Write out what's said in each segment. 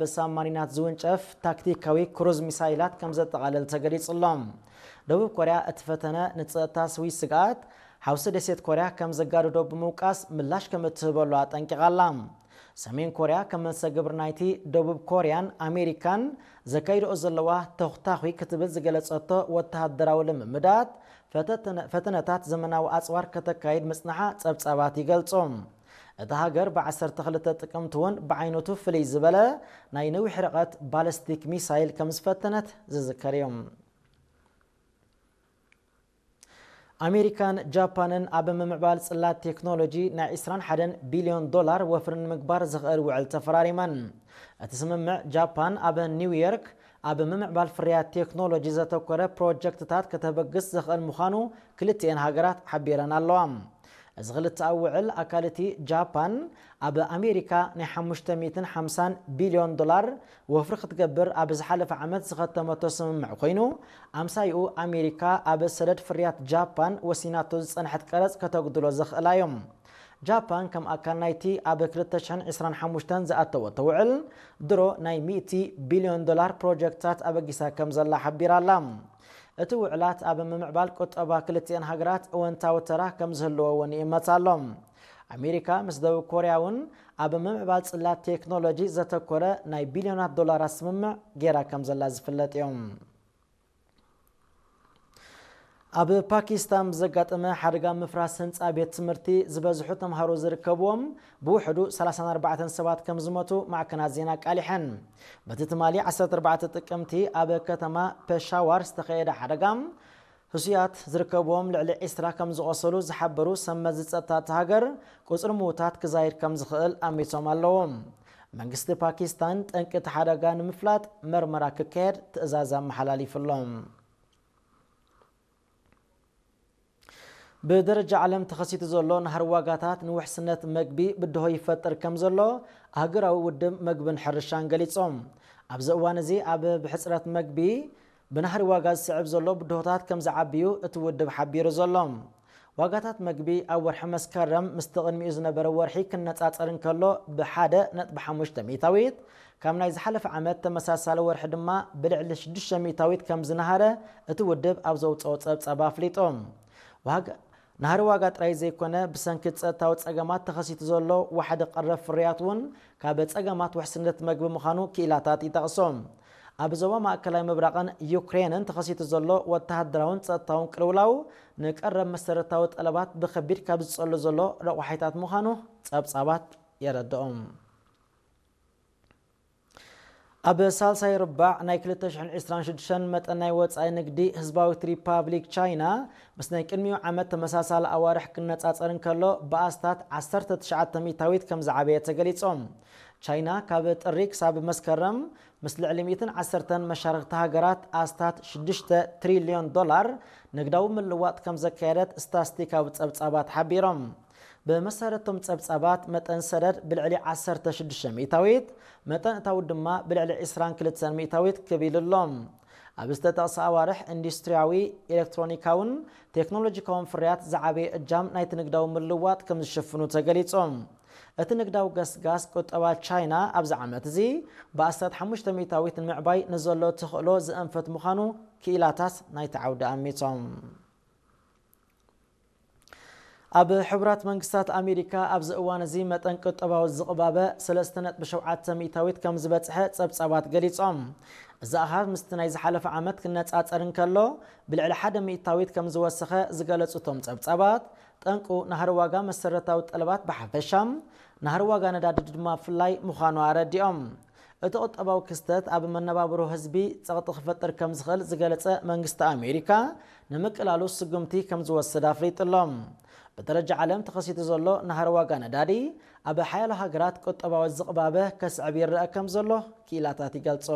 ብሳብማሪናት ዝውንጨፍ ታክቲካዊ ክሩዝ ሚሳይላት ከም ዘጠቓልል ተገሊጹ ኣሎ። ደቡብ ኮርያ እቲ ፈተነ ንጸጥታ ስዊስ ስግኣት ሓውሲ ደሴት ኮርያ ከም ዘጋድዶ ብምውቃስ ምላሽ ከም እትህበሉ ኣጠንቂቓ ኣላ። ሰሜን ኮርያ ከም መልሰ ግብሪ ናይቲ ደቡብ ኮርያን ኣሜሪካን ዘካይድኦ ዘለዋ ተኹታኹይ ክትብል ዝገለጸቶ ወተሃደራዊ ልምምዳት ፈተነ-፣ ፈተነታት ዘመናዊ ኣጽዋር ከተካይድ ምጽንሓ ጸብጻባት ይገልጹ። እታ ሃገር ብ ዓሰርተ ክልተ ጥቅምቲ እውን ብዓይነቱ ፍልይ ዝበለ ናይ ነዊሕ ርቀት ባለስቲክ ሚሳይል ከም ዝፈተነት ዝዝከር እዩ። ኣሜሪካን ጃፓንን ኣብ ምምዕባል ጽላት ቴክኖሎጂ ናይ ዕስራን ሓደን ቢልዮን ዶላር ወፍሪ ንምግባር ዝኽእል ውዕል ተፈራሪመን። እቲ ስምምዕ ጃፓን ኣብ ኒውዮርክ ኣብ ምምዕባል ፍርያት ቴክኖሎጂ ዘተኮረ ፕሮጀክትታት ከተበግስ ዝኽእል ምዃኑ ክልቲኤን ሃገራት ሓቢረን ኣለዋ። እዚ ክልተኣዊ ውዕል ኣካል እቲ ጃፓን ኣብ ኣሜሪካ ናይ ሓሙሽተ ሚእትን ሓምሳን ቢልዮን ዶላር ወፍሪ ክትገብር ኣብ ዝሓለፈ ዓመት ዝኸተመቶ ስምምዕ ኮይኑ፣ ኣምሳይኡ ኣሜሪካ ኣብ ሰደድ ፍርያት ጃፓን ወሲናቶ ዝጸንሐት ቀረጽ ከተጉድሎ ዘኽእላ እዮም። ጃፓን ከም ኣካል ናይቲ ኣብ ክልተ ሽሕን ዕስራን ሓሙሽተን ዝኣተወቶ ውዕል ድሮ ናይ ሚእቲ ቢልዮን ዶላር ፕሮጀክትታት ኣበጊሳ ከም ዘላ ሓቢራ ኣላ። እቲ ውዕላት ኣብ ምምዕባል ቁጠባ ክልቲኤን ሃገራት እወንታዊ ተራ ከም ዝህልዎ እውን ይእመት ኣሎ። ኣሜሪካ ምስ ደቡብ ኮርያ እውን ኣብ ምምዕባል ጽላት ቴክኖሎጂ ዘተኮረ ናይ ቢልዮናት ዶላራት ስምምዕ ገይራ ከም ዘላ ዝፍለጥ እዮም። ኣብ ፓኪስታን ብዘጋጠመ ሓደጋ ምፍራስ ህንጻ ቤት ትምህርቲ ዝበዝሑ ተምሃሮ ዝርከብዎም ብውሕዱ ሰላሳን ኣርባዕተን ሰባት ከም ዝሞቱ ማዕከናት ዜና ኣቃሊሐን። በቲ ትማሊ ዓሰርተ ኣርባዕተ ጥቅምቲ ኣብ ከተማ ፔሻዋር ዝተኸየደ ሓደጋ ህሱያት ዝርከብዎም ልዕሊ ዕስራ ከም ዝቖሰሉ ዝሓበሩ ሰብ መዚ ጸጥታ እታ ሃገር፣ ቁጽሪ ምዉታት ክዛይድ ከም ዝኽእል ኣሚቶም ኣለዉ። መንግስቲ ፓኪስታን ጠንቂ እቲ ሓደጋ ንምፍላጥ መርመራ ክካየድ ትእዛዝ ኣመሓላሊፉ ኣሎ። ብደረጃ ዓለም ተኸሲቱ ዘሎ ናህሪ ዋጋታት ንውሕስነት መግቢ ብድሆ ይፈጥር ከም ዘሎ ኣህጉራዊ ውድብ መግብን ሕርሻን ገሊጾም። ኣብዚ እዋን እዚ ኣብ ብሕጽረት መግቢ ብናህሪ ዋጋ ዝስዕብ ዘሎ ብድሆታት ከም ዝዓብዩ እቲ ውድብ ሓቢሩ ዘሎ። ዋጋታት መግቢ ኣብ ወርሒ መስከረም ምስቲ ቅድሚኡ ዝነበረ ወርሒ ክነጻጸር እንከሎ ብሓደ ነጥቢ ሓሙሽተ ሚእታዊት፣ ካብ ናይ ዝሓለፈ ዓመት ተመሳሳሊ ወርሒ ድማ ብልዕሊ ሽዱሽተ ሚእታዊት ከም ዝነሃረ እቲ ውድብ ኣብ ዘውጽኦ ጸብጻብ ኣፍሊጡ። ዋጋ ናህሪ ዋጋ ጥራይ ዘይኮነ፣ ብሰንኪ ጸጥታዊ ጸገማት ተኸሲቱ ዘሎ ዋሕዲ ቀረብ ፍርያት እውን ካብ ጸገማት ውሕስነት መግቢ ምዃኑ ክኢላታት ይጠቕሱ። ኣብ ዞባ ማእከላይ ምብራቕን ዩክሬንን ተኸሲቱ ዘሎ ወተሃደራውን ጸጥታውን ቅልውላው፣ ንቀረብ መሰረታዊ ጠለባት ብኸቢድ ካብ ዝጸሉ ዘሎ ረቋሒታት ምዃኑ ጸብጻባት የረድኦም። ኣብ ሳልሳይ ርባዕ ናይ ክልተ ሽሕን ዕስራን ሽዱሽተን መጠን ናይ ወጻኢ ንግዲ ህዝባዊት ሪፓብሊክ ቻይና ምስ ናይ ቅድሚኡ ዓመት ተመሳሳሊ ኣዋርሕ ክነጻጸር እንከሎ ብኣስታት ዓሰርተ ትሽዓተ ሚእታዊት ከም ዝዓበየ ተገሊጾም። ቻይና ካብ ጥሪ ክሳብ መስከረም ምስ ልዕሊ ሚእትን ዓሰርተን መሻርኽቲ ሃገራት ኣስታት ሽዱሽተ ትሪልዮን ዶላር ንግዳዊ ምልዋጥ ከም ዘካየደት ስታስቲካዊ ጸብጻባት ሓቢሮም። ብመሰረቶም ጸብጻባት መጠን ሰደድ ብልዕሊ ዓሰርተ ሽዱሽተ ሚእታዊት፣ መጠን እታውት ድማ ብልዕሊ ዕስራን ክልተን ሚእታዊት ክብ ኢሉ ኣሎ። ኣብ ዝተጠቕሰ ኣዋርሕ ኢንዱስትሪያዊ፣ ኤሌክትሮኒካውን ቴክኖሎጂካውን ፍርያት ዝዓበየ እጃም ናይቲ ንግዳዊ ምልዋጥ ከም ዝሽፍኑ ተገሊጹ። እቲ ንግዳዊ ገስጋስ ቁጠባ ቻይና ኣብዚ ዓመት እዚ ብኣስታት ሓሙሽተ ሚእታዊት ንምዕባይ ንዘሎ ተኽእሎ ዝእንፍት ምዃኑ ክኢላታት ናይቲ ዓውዲ ኣሚቶም። ኣብ ሕቡራት መንግስታት ኣሜሪካ ኣብዚ እዋን እዚ መጠን ቁጠባዊ ዝቕባበ ሰለስተ ነጥቢ ሸውዓተ ሚእታዊት ከም ዝበጽሐ ጸብጻባት ገሊጾም። እዚ ኣሃዝ ምስቲ ናይ ዝሓለፈ ዓመት ክነጻጸር እንከሎ ብልዕሊ ሓደ ሚእታዊት ከም ዝወሰኸ ዝገለጹ እቶም ጸብጻባት፣ ጠንቁ ናህሪ ዋጋ መሰረታዊ ጠለባት ብሓፈሻ፣ ናህሪ ዋጋ ነዳዲ ድማ ብፍላይ ምዃኑ ኣረዲኦም። እቲ ቁጠባዊ ክስተት ኣብ መነባብሮ ህዝቢ ጸቕጢ ክፈጥር ከም ዝኽእል ዝገለጸ መንግስቲ ኣሜሪካ፣ ንምቅላሉ ስጉምቲ ከም ዝወስድ ኣፍሊጡ ኣሎ። ብደረጃ ዓለም ተኸሲቱ ዘሎ ናህሪ ዋጋ ነዳዲ ኣብ ሓያሎ ሃገራት ቁጠባዊ ዝቕባበ ከስዕብ ይረአ ከም ዘሎ ክኢላታት ይገልጹ።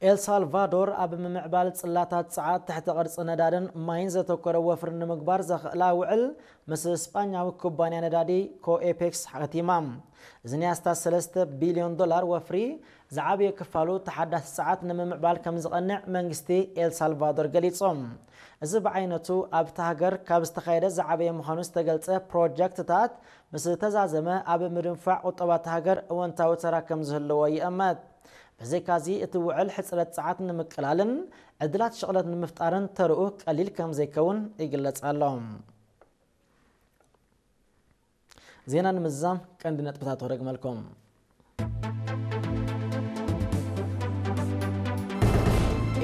ኤል ሳልቫዶር ኣብ ምምዕባል ጽላታት ጸዓት፣ ትሕቲ ቅርጺ ነዳድን ማይን ዘተኮረ ወፍሪ ንምግባር ዘኽእላ ውዕል ምስ ስጳኛዊ ኩባንያ ነዳዲ ኮኤፔክስ ሓቲማ። እዚ ናይ ኣስታት ሰለስተ ቢልዮን ዶላር ወፍሪ ዝዓበየ ክፋሉ ተሓዳሲ ጸዓት ንምምዕባል ከም ዝቐንዕ መንግስቲ ኤል ሳልቫዶር ገሊጾም። እዚ ብዓይነቱ ኣብታ ሃገር ካብ ዝተኻየደ ዝዓበየ ምዃኑ ዝተገልጸ ፕሮጀክትታት ምስ ተዛዘመ ኣብ ምድንፋዕ ቁጠባ እታ ሃገር እወንታዊ ተራ ከም ዝህልዎ ይእመት። ብዘይካዚ እቲ ውዕል ሕጽረት ጸዓት ንምቅላልን ዕድላት ሽቕለት ንምፍጣርን ተርኡ ቀሊል ከም ዘይከውን ይግለጽ ኣሎ። ዜና ንምዝዛም ቀንዲ ነጥብታት ክደግመልኩም።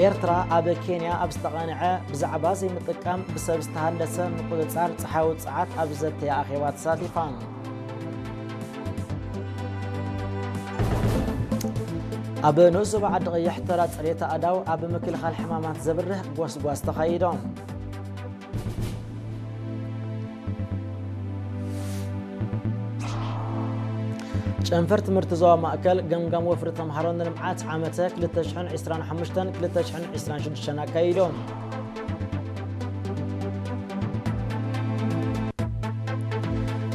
ኤርትራ ኣብ ኬንያ ኣብ ዝተቓንዐ ብዛዕባ ዘይምጥቃም ብሰብ ዝተሃንደሰ ምቁጽጻር ጸሓያዊ ጸዓት ኣብ ዘተየ ኣኼባ ተሳቲፋ። ኣብ ንኡስ ዞባ ዓዲ ቀይሕ ተራ ጽሬት ኣእዳው ኣብ ምክልኻል ሕማማት ዘብርህ ጎስጓስ ተኻይዶም። ጨንፈር ትምህርቲ ዞባ ማእከል ገምጋም ወፍሪ ተምሃሮ ንልምዓት ዓመተ ክልተ ሽሕን ዕስራን ሓሙሽተን ክልተ ሽሕን ዕስራን ሽዱሽተን ኣካይዶም።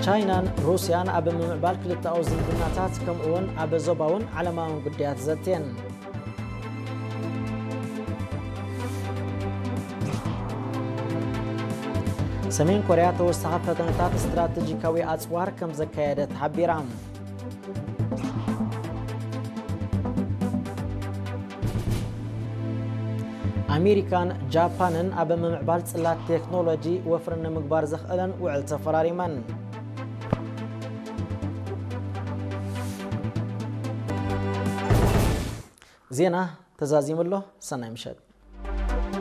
ቻይናን ሩስያን ኣብ ምምዕባል ክልተኣዊ ዝምድናታት ከምኡውን ኣብ ዞባውን ዓለማውን ጉዳያት ዘትየን። ሰሜን ኮርያ ተወሳኺ ፈተነታት ስትራቴጂካዊ ኣጽዋር ከም ዘካየደት ሓቢራ። ኣሜሪካን ጃፓንን ኣብ ምምዕባል ጽላት ቴክኖሎጂ ወፍሪ ንምግባር ዘኽእለን ውዕል ተፈራሪመን። ዜና ተዛዚሙ ኣሎ። ሰናይ ምሸት።